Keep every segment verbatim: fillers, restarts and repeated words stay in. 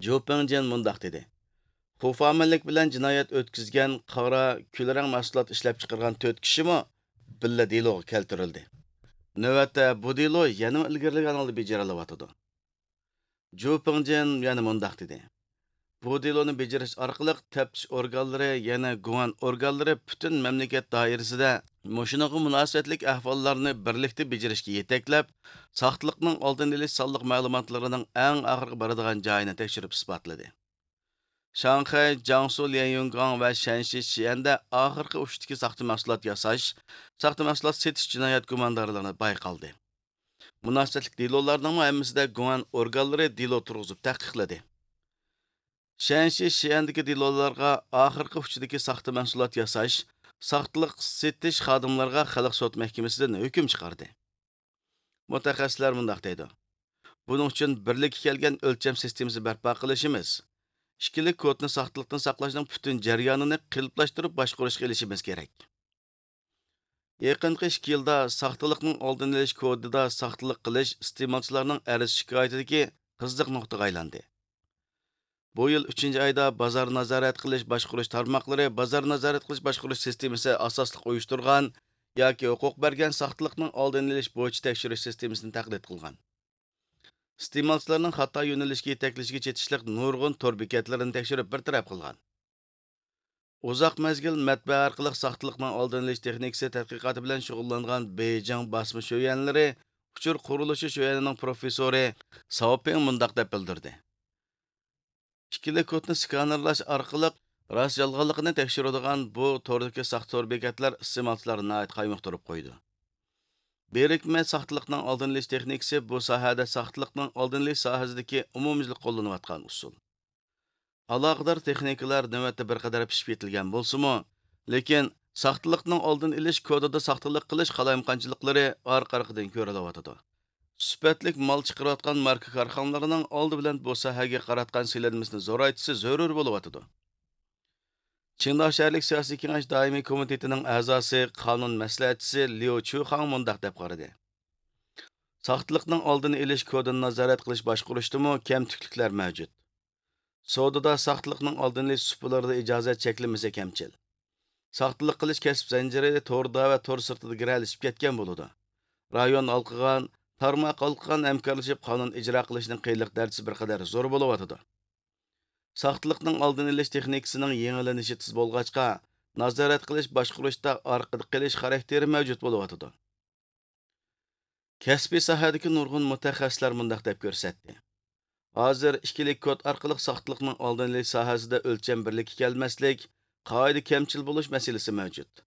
جۇ پىڭجىن مۇنداق دېدى: خۇفامىنلىك بىلەن جىنايەت ئۆتكۈزگەن قارا، كۈلرەڭ مەھسۇلات ئىشلەپچىقارغان تۆت كىشىمۇ بىللە دېلوغا كەلتۈرۈلدى. نۆۋەتتە بۇ دېلو يەنىمۇ ئىلگىرىلىگەن ھالدا بېجىرىلىۋاتىدۇ. جۇ پىڭجىن يەنە مۇنداق دېدى: بۇ دېلونى بېجىرىش ئارقىلىق تەپتىش ئورگانلىرى، يەنە گۇڭئەن ئورگانلىرى پۈتۈن مەملىكەت دائىرىسىدە مۇشۇنىڭغا مۇناسىۋەتلىك ئەھۋاللارنى بىرلىكتە بېجىرىشكە يېتەكلەپ، ساختىلىقنىڭ ئالدىنى ئېلىش سانلىق مەلۇماتلىرىنىڭ ئەڭ ئاخىرقى بارىدىغان جايىنى تەكشۈرۈپ ئىسپاتلىدى. شاڭخەي، جياڭسۇ ليەنيۈنگاڭ ۋە شەنشى شىئەندە ئاخىرقى ئۇچتىكى ساختا مەھسۇلات ياساش، ساختا مەھسۇلات سېتىش جىنايەت گۇماندارلىرىنى بايقالدى. مۇناسىۋەتلىك دېلولارنىڭمۇ ھەممىسىدە گۇڭئەن ئورگانلىرى دېلو تۇرغۇزۇپ تەھقىقلىدى. شەنشى شىئەندىكى دېلولارغا ئاخىرقى ئۇچىدىكى ساختا مەھسۇلات ياساش، ساختىلىق سېتىش خادىملىرىغا خەلق سوت مەھكىمىسىدىن ھۆكۈم چىقاردى. مۇتەخەسسىسلەر مۇنداق دەيدۇ: بۇنىڭ ئۈچۈن بىرلىككە كەلگەن ئۆلچەم سىستېمىسى بەرپا قىلىشىمىز، ئىككىلىك كودنى ساختىلىقتىن ساقلاشنىڭ پۈتۈن جەريانىنى قېلىپلاشتۇرۇپ باشقۇرۇشقا ئېلىشىمىز كېرەك. يېقىنقى ئىككى يىلدا ساختىلىقنىڭ ئالدىنى ئېلىش كودىدا ساختىلىق قىلىش ئىستېمالچىلارنىڭ ئەرز شىكايىتىدىكى قىزىق نۇقتىغا ئايلاندى. بۇ يىل ئۈچىنچى ئايدا بازار نازارەت قىلىش باشقۇرۇش تارماقلىرى بازار نازارەت قىلىش باشقۇرۇش سىستېمىسى ئاساسلىق ئۇيۇشتۇرغان ياكى ھوقۇق بەرگەن ساختىلىقنىڭ ئالدىنى ئېلىش بويىچە تەكشۈرۈش سىستېمىسىنى تەقلىد قىلغان. ئىستېمالچىلارنىڭ خاتا يۆنىلىشكە يېتەكلىشىگە چېتىشلىق نۇرغۇن تور بېكەتلىرىنى تەكشۈرۈپ بىر تەرەپ قىلغان. ئۇزاق مەزگىل مەتبەئە ئارقىلىق ساختىلىقنىڭ ئالدىنى ئېلىش تېخنىكىسى تەتقىقاتى بىلەن شۇغۇللانغان بېيجىڭ باسما شۆيۈەنلىرى ئۇچۇر قۇرۇلۇشى شۆيۈەنىنىڭ پروفېسسورى ساۋپىڭ مۇنداق دەپ بىلدۈردى: ئىككىلىك كودنى سكانېرلاش ئارقىلىق راست يالغانلىقىنى تەكشۈرىدىغان بۇ توردىكى ساختا تور بېكەتلەر ئىستېمالچىلارنى ناھايىتى قايمۇقتۇرۇپ قويىدۇ. بىرىكمە ساختىلىقنىڭ ئالدىنى ئېلىش تېخنىكىسى بۇ ساھەدە ساختىلىقنىڭ ئالدىنى ئېلىش ساھەسىدىكى ئومۇميۈزلۈك قوللىنىۋاتقان ئۇسۇل. ئالاقىدار تېخنىكىلار نۆۋەتتە بىر قەدەر پىشىپ يېتىلگەن بولسىمۇ، لېكىن ساختىلىقنىڭ ئالدىنى ئېلىش كودىدا ساختىلىق قىلىش قالايمىقانچىلىقلىرى ئارقا-ئارقىدىن كۆرۈلۈۋاتىدۇ. سۈپەتلىك مال چىقىرىۋاتقان ماركا كارخانىلىرىنىڭ ئالدى بىلەن بۇ ساھەگە قاراتقان سېلىنمىسىنى زورايتىشى زۆرۈر بولۇۋاتىدۇ. چىڭداۋ شەھەرلىك سىياسىي كېڭەش دائىمىي كومىتېتىنىڭ ئەزاسى، قانۇن مەسلىھەتچىسى ليۇ چۈخاڭ مۇنداق دەپ قارىدى: ساختىلىقنىڭ ئالدىنى ئېلىش كودىنى نازارەت قىلىش باشقۇرۇشتىمۇ كەمتۈكلۈكلەر مەۋجۇت. سودىدا ساختىلىقنىڭ ئالدىنى ئېلىش سۇپىلىرىدا ئىجازەت چەكلىمىسى كەمچىل. ساختىلىق قىلىش كەسىپ زەنجىرى توردا ۋە تور سىرتىدا گىرەلىشىپ كەتكەن بولىدۇ. رايون ھالقىغان، تارماق ھالقىغان ھەمكارلىشىپ قانۇن ئىجرا قىلىشنىڭ قىيىنلىق دەرىجىسى بىر قەدەر زور بولۇۋاتىدۇ. ساختىلىقنىڭ ئالدىنى ئېلىش تېخنىكىسىنىڭ يېڭىلىنىشى تېز بولغاچقا، نازارەت قىلىش باشقۇرۇشتا ئارقىدا قېلىش خاراكتېرى مەۋجۇت بولۇۋاتىدۇ. كەسپىي ساھەدىكى نۇرغۇن مۇتەخەسسىسلەر مۇنداق دەپ كۆرسەتتى: ھازىر ئىككىلىك كود ئارقىلىق ساختىلىقنىڭ ئالدىنى ئېلىش ساھەسىدە ئۆلچەم بىرلىككە كەلمەسلىك، قائىدە كەمچىل بولۇش مەسىلىسى مەۋجۇت.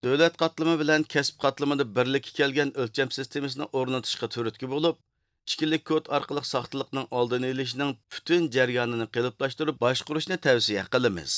دۆلەت قاتلىمى بىلەن كەسىپ قاتلىمىدا بىرلىككە كەلگەن ئۆلچەم سىستېمىسىنى ئورنىتىشقا تۈرتكە بولۇپ، ئىككىلىك كود ئارقىلىق ساختىلىقنىڭ ئالدىنى ئېلىشنىڭ پۈتۈن جەريانىنى قېلىپلاشتۇرۇپ باشقۇرۇشنى تەۋسىيە قىلىمىز.